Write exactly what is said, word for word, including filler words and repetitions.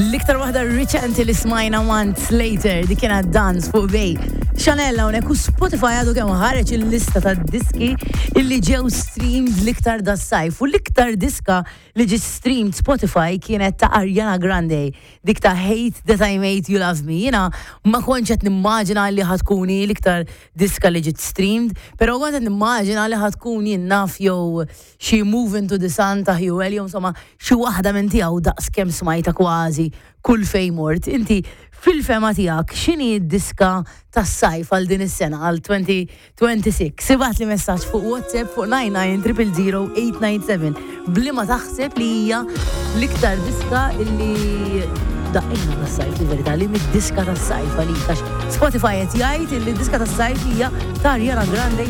L-iktar waħda riċenti li smajna Months Later, dik kienet Dance fuq Bay. Chanel hawnhekk u Spotify għadu kemm ħareġ il-lista ta' diski illi ġew streamed l-iktar das-sajf u l-iktar diska li ġiet streamed Spotify kienet ta' Ariana Grande, dik ta' Hate That I Made You Love Me. Jiena ma kontx qed nimmaġina li ħa tkun l-iktar diska li ġiet streamed, pero kont qed nimmaġina li ħa tkun jien naf jew xi Move Into the Sun ta' Hugh, jew insomma xi waħda minn tiegħu daqs kemm smajta kważi kull fejn mort. Inti fil-fehma tiegħek x'inhi d-diska tas-sajf għal din is-sena għal elfejn u sitta u għoxrin? Ibgħatli messaġġ fuq WhatsApp fuq disgħa disgħa żero żero tmienja disa' b'liema taħseb li hija l-iktar diska illi daqqejna tas-sajf, il-verità li mid-diska tas-sajf għalik, għax Spotify qed jgħid illi diska tas-sajf hija ta' Ariana Grande.